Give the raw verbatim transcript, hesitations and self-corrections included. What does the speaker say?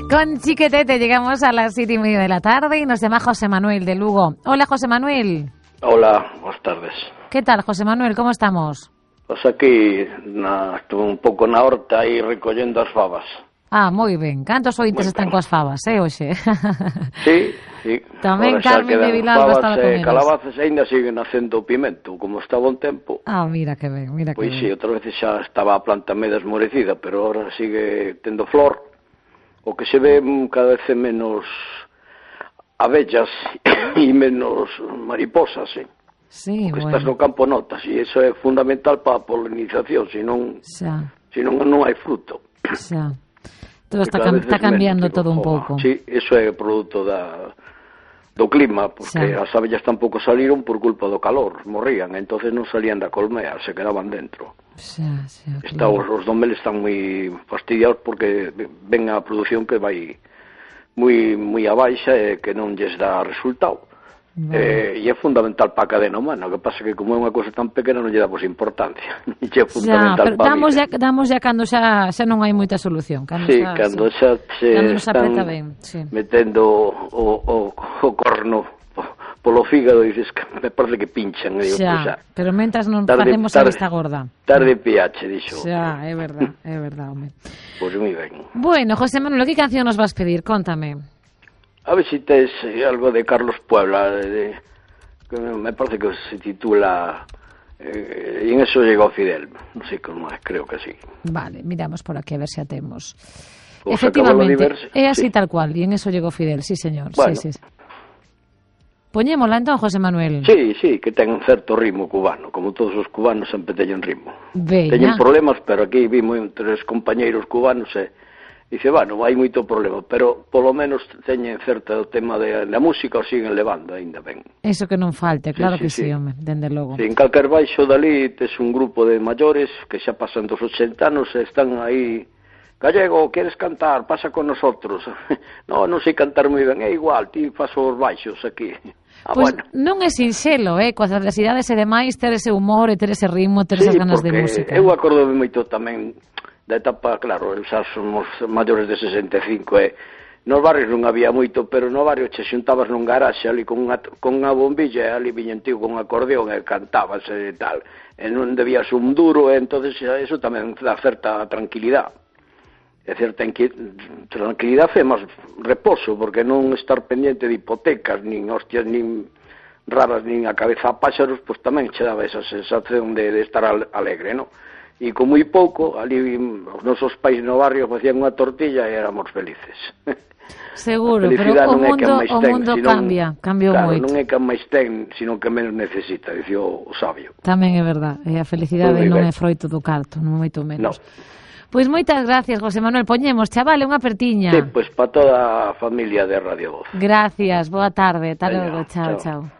Con Chiquetete llegamos a las siete y media de la tarde y nos llama José Manuel de Lugo. Hola, José Manuel. Hola, buenas tardes. ¿Qué tal, José Manuel? ¿Cómo estamos? Pues aquí na, estuve un pouco na horta aí recollendo as fabas. Ah, moi ben. Cantos ointes están coas fabas, eh, hoxe? Sí, sí. Tamén Carmen de Vilalba estaba con eles. Calabazas ainda siguen nacendo pimento, como está bon tempo. Ah, mira que ben, mira que pois ben. Pois sí, outra vez xa estaba a planta medio esmorecida, pero ahora sigue tendo flor. O que se ve cada vez menos abellas e menos mariposas, eh. Sí, porque bueno. estás no campo notas, e iso é fundamental para a polinización, senón, xa. senón non hai fruto. Xa. Todo está, cam está cambiando menos, todo un pouco. Sí, iso é produto da, do clima, porque xa. As abellas tampouco saliron por culpa do calor, morrían, entonces non salían da colmea, se quedaban dentro. Xa, xa, Está, claro. os, os domeles están moi fastidiados porque ven a produción que vai moi moi a baixa e que non lles dá resultado. Vale. Eh, e é fundamental para a cadena humana. O que pasa que como é unha cousa tan pequena non lle damos importancia. E é fundamental xa, pero para damos a ya, damos ya cando xa, xa non hai moita solución. Cando sí, xa, cando xa, se cando están ben, sí. metendo o, o, o corno polo fígado e dices que me parece que pinchan. Digo, xa, pues xa, pero mentras non tarde, facemos tarde, a vista gorda. Tarde pH, dixo. Xa, é verdad, é verdad, home. Pois pues moi ben. Bueno, José Manuel, que canción nos vas pedir? Contame. A ver si tes algo de Carlos Puebla, de... de que me parece que se titula eh, y en eso llegó Fidel, non sei como é, creo que sí. Vale, miramos por aquí a ver se si atemos. Pues efectivamente, é así sí. Tal cual, y en eso llegó Fidel, sí señor. Bueno. Sí, sí. Poñémola entón, José Manuel. Sí, sí, que ten un certo ritmo cubano, como todos os cubanos sempre teñen ritmo. Veña. Teñen problemas, pero aquí vimos tres compañeiros cubanos e dice, bueno, hai moito problema, pero polo menos teñen certo tema de la música o siguen levando, ainda ben. Eso que non falte, claro sí, que sí, sí, home, dende logo. Sí, en calquer baixo dali tes un grupo de maiores que xa pasan dos ochenta anos e están aí, Gallego, queres cantar? Pasa con nosotros. No, non sei cantar moi ben, é igual, ti paso os baixos aquí. Ah, pois bueno. Non é sinxelo, eh, coas adversidades e demais, ter ese humor e ter ese ritmo, ter esas sí, ganas de música. Eu acordo moito tamén da etapa, claro, xa somos maiores de sesenta e cinco e nos barrios non había moito, pero no barrio che xuntabas nun garaxe ali con unha, con unha bombilla e ali viñen tío con un acordeón e cantabas e tal, e non debías un duro e entonces eso tamén dá certa tranquilidade e certa tranquilidade e máis reposo, porque non estar pendiente de hipotecas, nin hostias, nin rabas, nin a cabeza a páxaros, pois tamén che daba esa sensación de, de estar alegre, non? E con moi pouco, ali os nosos pais no barrio facían unha tortilla e éramos felices. Seguro, pero o mundo, o mundo ten, cambia, cambiou claro, moito. Non é que máis ten, sino que menos necesita, dicía o sabio. Tamén é verdad, e a felicidade non é froito do carto, non moito menos. No. Pois moitas gracias, José Manuel, poñemos, chavale, unha apertiña. Sí, pois para toda a familia de Radio Voz. Gracias, boa tarde, ata Venga, logo, chao, chao. chao.